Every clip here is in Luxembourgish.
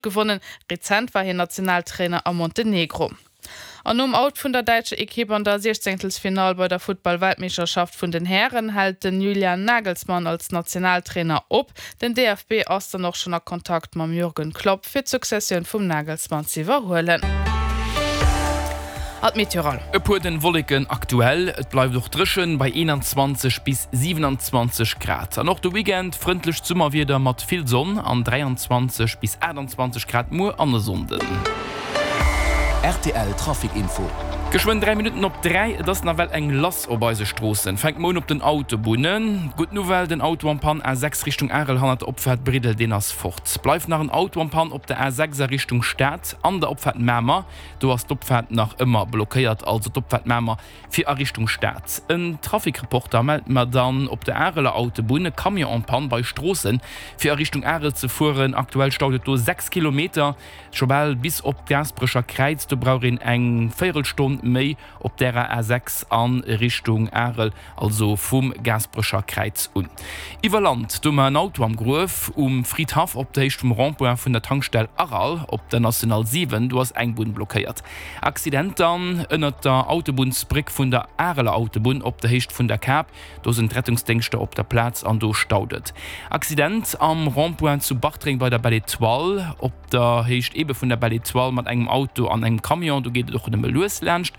Gewonnen. Rezent war hien Nationaltrainer a Montenegro. An nom Out vun der däitscher Ekipp an der Siechzéngtelsfinall bei der Futtball-Weltmeeschterschaft vun den Hären hält den Julian Nagelsmann als Nationaltrainer op. Den DFB ass dann och schonn a Kontakt mam Jürgen Klopp fir d'Successioun vum Nagelsmann z'iwwerhuelen. Ad Meteoral. E puer dënn Wolleken aktuell, et bleift och dréchen bei 21 bis 27 Grad. An och de Weekend frëndlecht Summerwieder mat vill Sonn an 23 bis 28 Grad muer an e Sonnden. Rtl Trafic Info. Geschwënn 3 Minutten op 3, et ass nawell eng lass op eise Stroossen. Fänkt mer un op den Autobunnen. Gutt Nouvelle, den Auto en Panne A6 Richtung Arel hannert der Opfaart Briddel, deen ass fort. Bleift nach en Auto en Panne op der A6 a Richtung Stad an der Opfaart Mamer. Do ass d'Opfaart nach ëmmer blockéiert, also d'Opfaart Mamer fir a Richtung Stad. En Trafic-Reporter mellt mer dann op der Areler Autobunn e Camion en panne bei Stroossen fir a Richtung Arel ze fueren. Aktuell staut et do 6 Kilometer, scho bal bis op d'Gaasperecher Kräiz. Do brauch een eng Véierelstonn méi op därer A6 a Richtung Arel. Also vum Gaasperecher Kräiz un. Iwwer Land, do mar en Auto am Gruef um Fridhaff op der Héicht vum Rond-point vun der Tankstell Aral op der National 7, do ass eng Bunn blockéiert. Accident dann ënnert der Autobunnsbréck vun der Areler Autobunn op der Héicht vun der Kap, do sinn d'Rettungsdéngschter op der Plaz an do staut et. Accident am Rond-point zu Bartreng bei der Belle Etoile op der Héicht ebe vun der Belle Etoile mat engem Auto an engem Camion, do geet et och nëmme lues laanscht.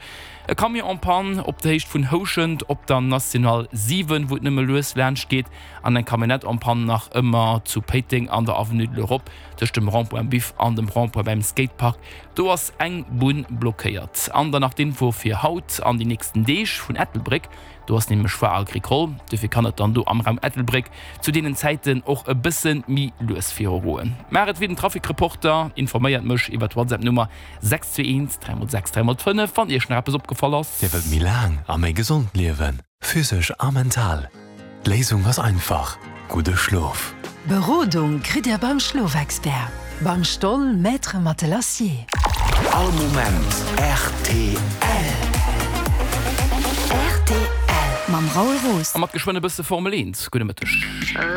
E Camion en panne op der Héicht vun Houschent op der National 7, wou et nëmme lues laanscht geet, an eng Camionnette en panne nach ëmmer zu Péiteng an der Avenue de l'Europe tëscht dem Rond-point Biff an dem Rond-point beim Skatepark. Do ass eng Bunn blockéiert. An dann nach d'Info fir haut an déi nächsten Deeg vun Ettelbréck. Do ass nämlech Foire Agricole, dofir kann et dann do am Raum Ettelbréck zu deenen Zäiten och e bësse méi lues virugoen. Maacht et wéi den Trafic-Reporter, informéiert mech iwwer d'WhatsApp-Nummer 6 2 1 3 x 6 3 x 5 wann iech nach eppes opgefall ass. Dir wëllt méi laang a méi gesond liewen, physesch a mental? D'Léisung ass einfach, gudde Schlof! Berodung kritt Dir beim Schlofexpert, beim Stoll Maître Matelassier. All Moment rtl. Rtl mam Raoul Roos. A mat geschwënn e bësse Formel 1. Gudde Mëtteg.